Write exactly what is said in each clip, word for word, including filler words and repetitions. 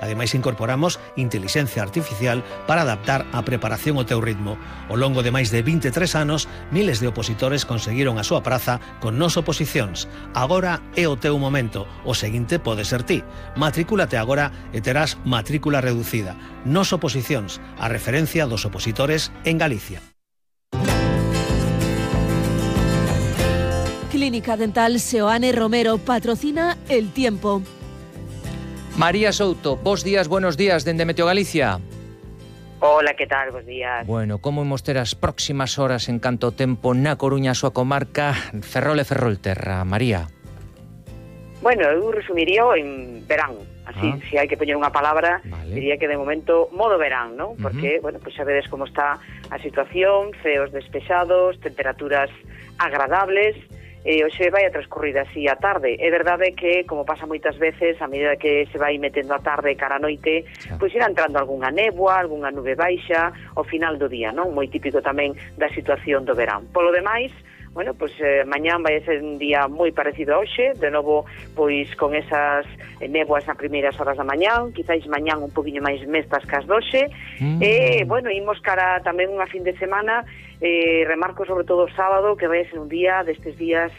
Ademais, incorporamos intelixencia artificial para adaptar a preparación ao teu ritmo. Ao longo de máis de vinte e tres anos, miles de opositores conseguiron a súa praza con Nos Oposicións. Agora é o teu momento. O seguinte pode ser ti. Matricúlate agora e terás matrícula reducida. Nos Oposicións, a referencia dos opositores en Galicia. Clínica Dental Seoane Romero patrocina El Tiempo. María Souto, bos días, buenos días, dende Meteo Galicia. Hola, que tal? Bos días. Bueno, como imos ter as próximas horas en canto ao tempo na Coruña, a súa comarca, Ferrol e Ferrolterra? María. Bueno, eu resumiría en verán. Así, ah. se hai que poñer unha palabra, vale. Diría que de momento modo verán, ¿no? Porque, uh-huh. bueno, pues xa vedes como está a situación, ceos despexados, temperaturas agradables. E hoxe vai a transcurrir así a tarde. É verdade que, como pasa moitas veces, a medida que se vai metendo a tarde cara a noite, pois irá entrando algunha néboa, algunha nube baixa ao final do día, non? Moi típico tamén da situación do verán. Polo demais, bueno, pois eh, mañán vai ser un día moi parecido a hoxe, de novo, pois con esas néboas nas primeiras horas da mañán, quizáis mañán un poquinho máis mestas que as doxe, mm. e, bueno, imos cara tamén unha fin de semana, eh, remarco sobre todo o sábado, que vai ser un día destes días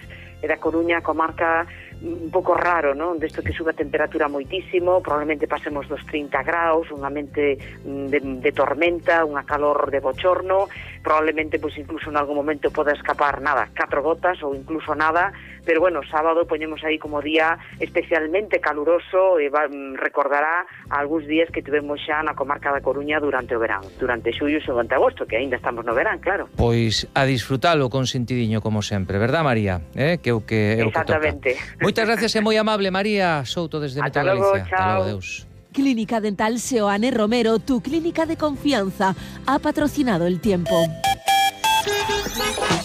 da Coruña, comarca un pouco raro, non? Desto que sube a temperatura moitísimo, probablemente pasemos dos trinta graus, un ambiente de, de tormenta, unha calor de bochorno, probablemente, pois, incluso en algún momento poda escapar, nada, catro gotas ou incluso nada, pero, bueno, sábado poñemos aí como día especialmente caluroso e va, recordará algúns días que tivemos xa na comarca da Coruña durante o verán, durante xullo e durante agosto, que aínda estamos no verán, claro. Pois a disfrutalo con sentidiño, como sempre, verdad, María? Eh? Que o que, é o que toca. Exactamente. Moitas gracias e moi amable, María Souto, desde Meteo Galicia. Hasta logo, Deus. Clínica Dental Seoane Romero, tu clínica de confianza, ha patrocinado El Tiempo.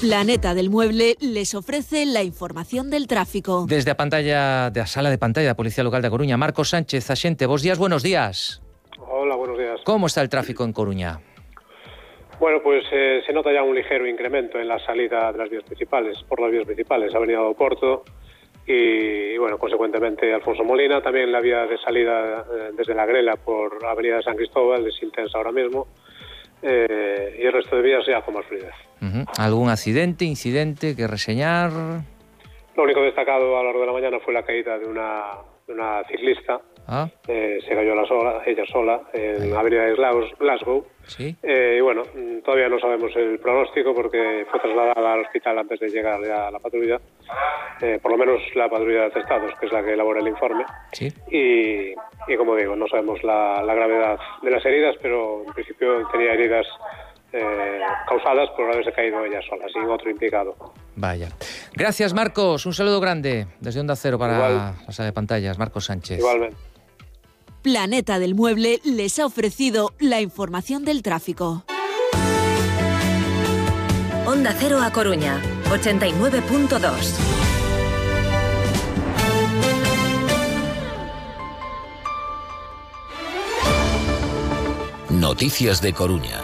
Planeta del Mueble les ofrece la información del tráfico. Desde a pantalla de a sala de pantalla da Policía Local da Coruña, Marcos Sánchez, axente, bos días, buenos días. Hola, buenos días. Como está el tráfico en Coruña? Bueno, pues eh, se nota ya un ligero incremento en la salida de las vías principales, por las vías principales, Avenida do Porto y, y bueno, consecuentemente Alfonso Molina, también la vía de salida eh, desde La Grela por Avenida de San Cristóbal es intensa ahora mismo, eh, y el resto de vías ya con más fluidez. Uh-huh. ¿Algún accidente, incidente que reseñar? Lo único destacado a lo largo de la mañana fue la caída de una, de una ciclista. Ah. Eh, se cayó la sola, ella sola en la avenida de Glasgow. ¿Sí? Eh, y bueno, todavía no sabemos el pronóstico porque fue trasladada al hospital antes de llegar ya a la patrulla, eh, por lo menos la patrulla de atestados, que es la que elabora el informe. ¿Sí? y, y como digo, no sabemos la, la gravedad de las heridas, pero en principio tenía heridas Eh, causadas por haberse caído ella sola, sin otro implicado. Vaya. Gracias, Marcos. Un saludo grande desde Onda Cero para Igual. la sala de pantallas. Marcos Sánchez. Igualmente. Planeta del Mueble les ha ofrecido la información del tráfico. Onda Cero a Coruña, ochenta y nueve punto dos. Noticias de Coruña.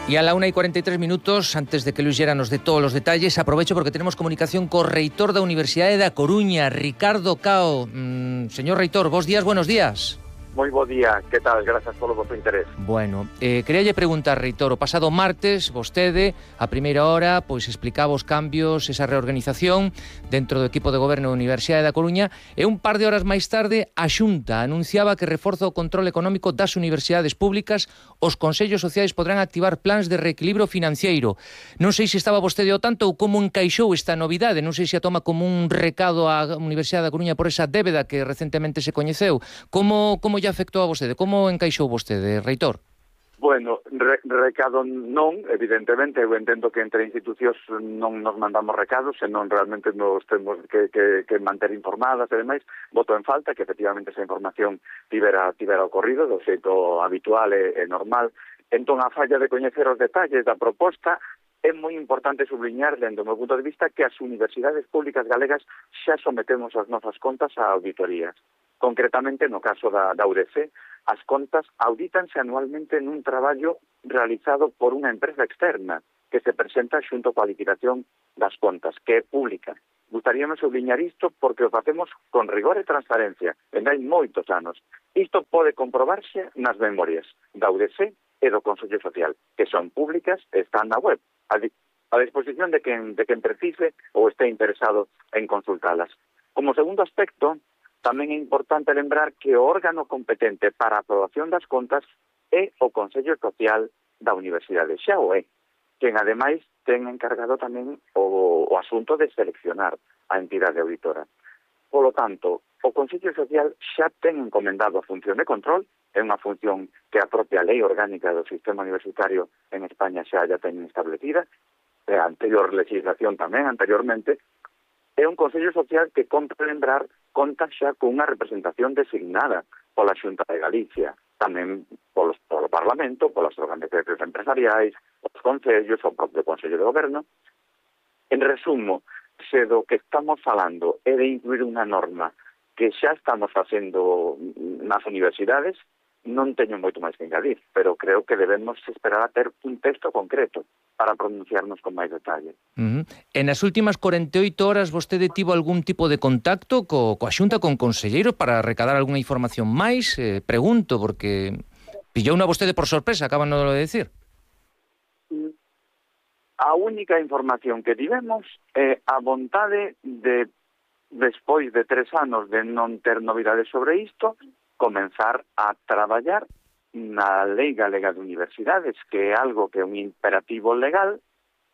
Y a la una y cuarenta y tres minutos, antes de que Luis Llera nos dé todos los detalles, aprovecho porque tenemos comunicación con reitor da Universidade da Coruña, Ricardo Cao. Mm, señor reitor, bos días, buenos días. Moi bo día, que tal? Grazas polo vosso interés. Bueno, eh, queríalle preguntar, reitor, o pasado martes, vostede, a primeira hora, pois explicaba os cambios, esa reorganización dentro do equipo de goberno da Universidade da Coruña, e un par de horas máis tarde, a Xunta anunciaba que reforza o control económico das universidades públicas, os consellos sociais podrán activar plans de reequilibrio financiero. Non sei se estaba vostede ao tanto ou como encaixou esta novidade, non sei se a toma como un recado á Universidade da Coruña por esa débeda que recentemente se coñeceu. Como, como afectou a vostede? Como encaixou vostede, reitor? Bueno, re, recado non, evidentemente, eu entendo que entre institucións non nos mandamos recados, senón realmente nos temos que, que, que manter informadas e demais. Voto en falta que efectivamente esa información tivera, tivera ocorrido do xeito habitual e, e normal. Entón, a falla de coñecer os detalles da proposta, é moi importante subliñar, dentro do meu punto de vista, que as universidades públicas galegas xa sometemos as nosas contas a auditorías. Concretamente, no caso da, da U D C, as contas audítanse anualmente nun traballo realizado por unha empresa externa que se presenta xunto coa liquidación das contas, que é pública. Gustaríame subliñar isto porque o facemos con rigor e transparencia, e hai moitos anos. Isto pode comprobarse nas memorias da U D C e do Consello Social, que son públicas e están na web, a, di a disposición de quen, de quen precise ou este interesado en consultalas. Como segundo aspecto, tamén é importante lembrar que o órgano competente para a aprobación das contas é o Consello Social da Universidade, xa o é, quen ademais ten encargado tamén o, o asunto de seleccionar a entidade auditora. Polo tanto, o Consello Social xa ten encomendado a función de control, é unha función que a propia lei orgánica do sistema universitario en España xa ya ten establecida, e a anterior legislación tamén, anteriormente, é un Consello Social que compre lembrar conta xa cunha representación designada pola Xunta de Galicia, tamén polos, polo Parlamento, polas organizacións empresariais, os concellos, o propio Consello de Goberno. En resumo, se do que estamos falando é de incluir unha norma que xa estamos facendo nas universidades, non teño moito máis que engadir, pero creo que debemos esperar a ter un texto concreto para pronunciarnos con máis detalle. Uh -huh. En as últimas cuarenta e oito horas vostede tivo algún tipo de contacto co, coa Xunta, con conselleiros, para recadar algunha información máis? Eh, pregunto, porque pillou unha vostede por sorpresa, acaban de decir. A única información que tivemos é a vontade de, despois de tres anos de non ter novidades sobre isto, comenzar a traballar na Lei Galega de Universidades, que é algo que é un imperativo legal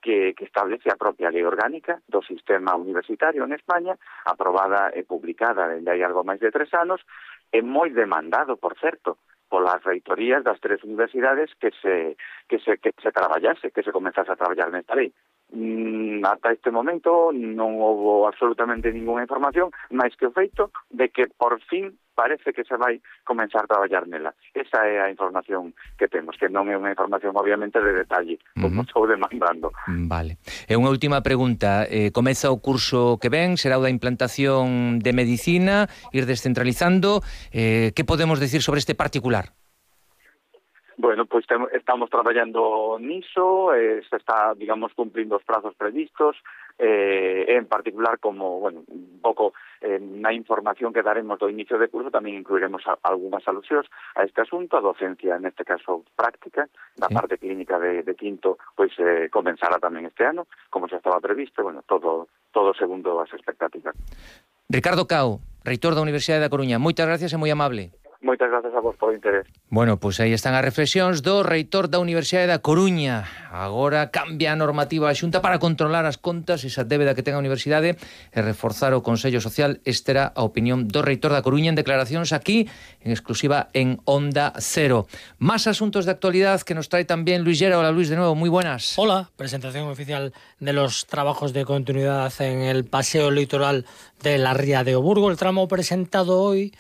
que, que establece a propia lei orgánica do sistema universitario en España, aprobada e publicada dende hai algo máis de tres anos, é moi demandado, por certo, polas reitorías das tres universidades que se que se que se traballase, que se comenzase a traballar nesta lei. Mm, ata este momento non houve absolutamente ninguna información máis que o feito de que por fin parece que se vai comenzar a traballar nela. Esa é a información que temos, que non é unha información obviamente de detalle, como uh -huh. estou demandando. Vale. E unha última pregunta, eh, comeza o curso que ven, será o da implantación de medicina, ir descentralizando, eh, que podemos decir sobre este particular? Bueno, pois pues estamos traballando niso, eh, se está, digamos, cumplindo os prazos previstos, eh, en particular, como, bueno, un pouco eh, na información que daremos do inicio de curso, tamén incluiremos a, algunhas alusións a este asunto, a docencia, neste caso práctica, da sí. parte clínica de, de quinto, pois eh, comenzará tamén este ano, como xa estaba previsto, bueno, todo, todo segundo as expectativas. Ricardo Cao, reitor da Universidade da Coruña, moitas gracias e moi amable. Moitas gracias a vos por o interés. Bueno, pois aí están as reflexións do reitor da Universidade da Coruña. Agora cambia a normativa a Xunta para controlar as contas, esa débeda que ten a Universidade, e reforzar o Consello Social. Esta era a opinión do reitor da Coruña en declaracións aquí, en exclusiva en Onda Cero. Más asuntos de actualidad que nos trae también Luis Llera. Hola Luis, de nuevo, muy buenas. Hola, presentación oficial de los trabajos de continuidad en el paseo litoral de la Ría de Oburgo. El tramo presentado hoy,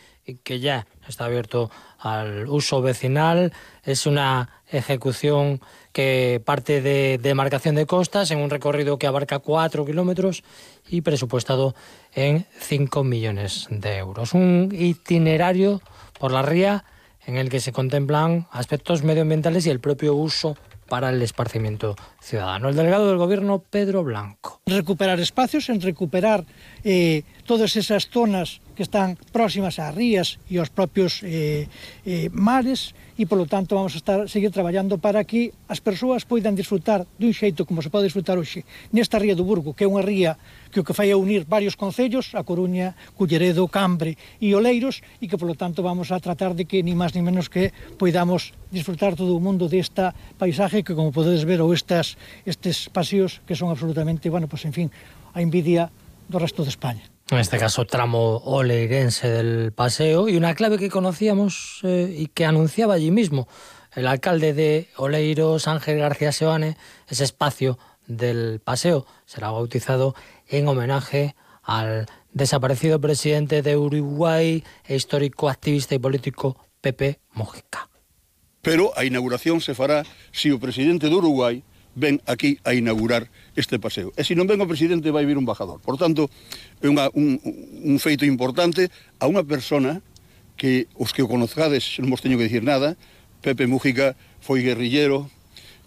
que ya está abierto al uso vecinal, es una ejecución que parte de demarcación de costas en un recorrido que abarca cuatro kilómetros y presupuestado en cinco millones de euros. Un itinerario por la ría en el que se contemplan aspectos medioambientales y el propio uso para el esparcimiento ciudadano. El delegado del Gobierno, Pedro Blanco. Recuperar espacios, en recuperar eh, todas esas zonas que están próximas ás rías e aos propios eh, eh, mares, e polo tanto vamos a estar seguir traballando para que as persoas poidan disfrutar dun xeito como se pode disfrutar hoxe nesta ría do Burgo, que é unha ría que o que fai é unir varios concellos, a Coruña, Culleredo, Cambre e Oleiros, e que polo tanto vamos a tratar de que ni máis ni menos que poidamos disfrutar todo o mundo desta paisaje que, como podedes ver, ou estas, estes paseos que son absolutamente, bueno, pues en fin, a envidia do resto de España. En este caso, tramo oleirense del paseo, y una clave que conocíamos eh, y que anunciaba allí mismo el alcalde de Oleiros, Ángel García Seoane. Ese espacio del paseo será bautizado en homenaje al desaparecido presidente de Uruguay e histórico activista y político Pepe Mujica. Pero a inauguración se fará si o presidente de Uruguai ven aquí a inaugurar este paseo. E se non ven o presidente vai vir un embajador. Por tanto, é unha, un, un feito importante a unha persona que os que o conozcades non vos teño que dicir nada. Pepe Mujica foi guerrillero,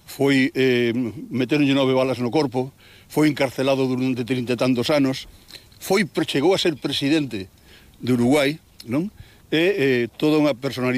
foi eh, meteronlle nove balas no corpo, foi encarcelado durante trinta e tantos anos, foi, chegou a ser presidente de Uruguai, non? E eh, toda unha personalidade